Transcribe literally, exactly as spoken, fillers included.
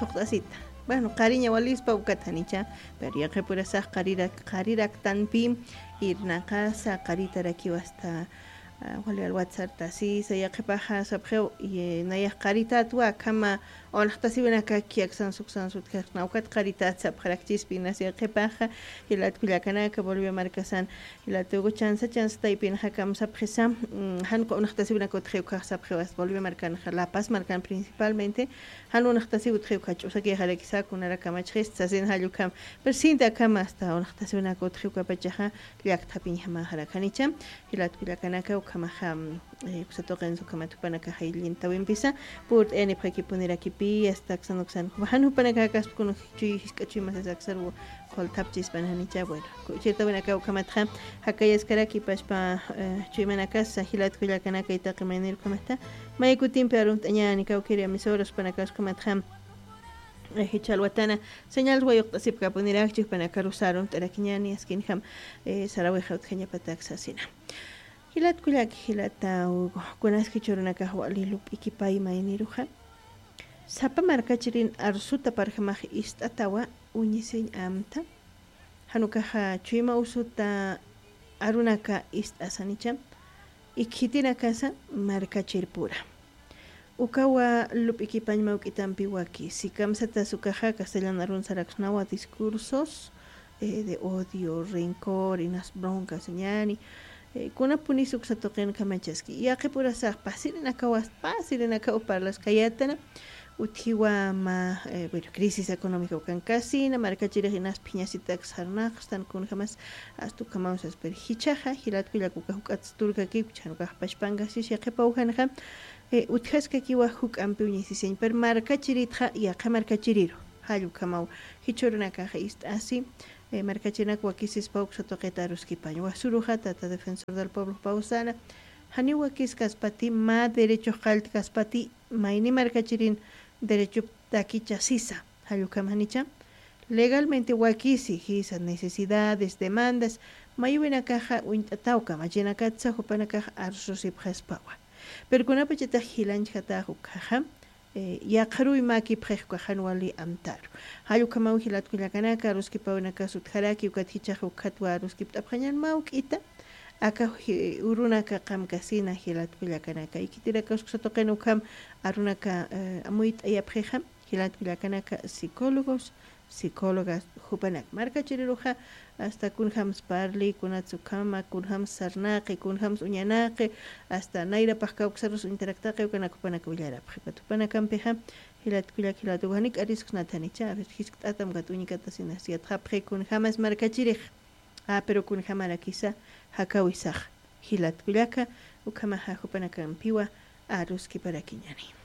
Uqt'asita. Bueno, qariña walispa ukat janicha, pero yaqipurasax qarirak, qariraktanpi irnaqasa qaritarakiw hasta, ah, wali alwatsartasisa, yaqipaxa sapxiw, y, eh, nayax qaritatwa, akhama unxtasiwinakaki aksan suksan sutkarna, ukat qaritat sapxarakchispi inas yaqipaxa, jilat kullakanaka, Bolivia markasan, Jilatugu chansa, chansa taypinxa kamsapxisa, mm, jan unxtasiwinaka utxiw ukkhax sapxiw hasta Bolivia markanxa, La Paz markan principalmente, jan unxtasiw utxiw ukkha ch'usakixarakisa, kunarakamachxista sasin jall ukham. Pero sinti akhama hasta unxtasiwinaka utxiw ukhapachaxa, llakthapiñjamaxarak janicha, jilat kullakanaka ukhamaxa, mm, eh, uksa tuqinsa ukhamat jupanakaxa illintawimpisa, purt'ayanipxakipunirakipi, hasta aksan uksan, jan jupanakax kaspa kun chuy jisk'a chuymasas aksarwa, Qultapchispan janicha, bueno, kuchirtawinaka ukhamatxa, jakayaskaraki pachpa, eh, chuymanakasa, jilat kullakanaka, itaqi maynir ukhamatxa, may kutimpi arumt'añäni, kawkiri emisoras jupanakasa ukhamatxa, eh, jichha alwatana, señal wayuqt'asipkapunirakchi, jupanakarusa arumt'arakiñäni, askinjam, eh, sarawixa utjañapatak sasina. Jilat kullaki, jilata Hugo, kunas jichhürunakax wali lup'ikipay mayniruxa, sapa markachirin arsuta parjamax ist'atawa, uñisiñ amta. Jan ukaxa chuyma usuta arunaka ist'asanicha, ikhitirakasa markachirpura. Ukawa lup'ikipañ mawk'itampi wakisi, kamsatas ukaxa castellan arun saraksnawa discursos, eh, de odio, rencor, inas broncas ñäni, eh, kunapunis uksa tuqin kamachaski. Yaqipurasax pasirinakawas, pasirinakaw parlaskayätana, utjiwa mä, eh, bueno, crisis económica ukankasina, markachirix inas phiñasitak sarnaqstan kunjamas, hasta ukhamaw sas, pero jichhaxa, jilat kullaka ukax juk'at sturkakiw, chhan ukax pachpankasis yaqipaw janxa, eh, utjaskakiwa juk'ampi uñisisiñ, pero markachiritxa, yaqha markachiriru, jall ukhamaw, jichhürunakaxa ist'asi, eh, markachirinak wakisispa uksa tuqita aruskipañ. Wasuruxa, tata Defensor del Pueblo pawsana, janiw wakiskaspati, mä derechox qalltkaspati, mayni markachirin derechoptakicha sisa, jall ukham janicha. Legalmente wakisi, jisa, necesidades, demandas, mayuwinakaxa uñt'ataw kamachinakatsa jupanakax arsusipxaspawa. Pero kunapachatix jilanchjatäx ukkhaxa, eh, yaqharuy mäkipxix ukax jan wali amtaru. Jall ukhamaw jilat kullakanaka, aruskipawinakas utjaraki, ukat jichhax ukhatwa aruskipt'apxañän mawk'ita, aka ji-, urunaka qamkasina jilat kullakanaka. Ikhitirakas uksa tuqin ukham arunaka, eh, amuyt'ayapxixa, jilat kullakanaka, psicólogos, psicólogas, jupanak markachiriruxa, hasta kunjams parli, kunats ukhama, kunjams sarnaqi, kunjams uñanaqi, hasta nayrapax kawksarus uñtaraktaqi, ukanak jupanak willarapxi. Ukat jupanakampixa, jilat kullak, jilat ukax janik arisksnat janicha, a ver, jiskt'atam ukat uñikatasinas yatxapxi kunjamas markachirix. Ah, pero kunjamarakisa, jakawisax, jilat kullaka, ukhamaxa jupanakampiwa aruskiparakiñäni.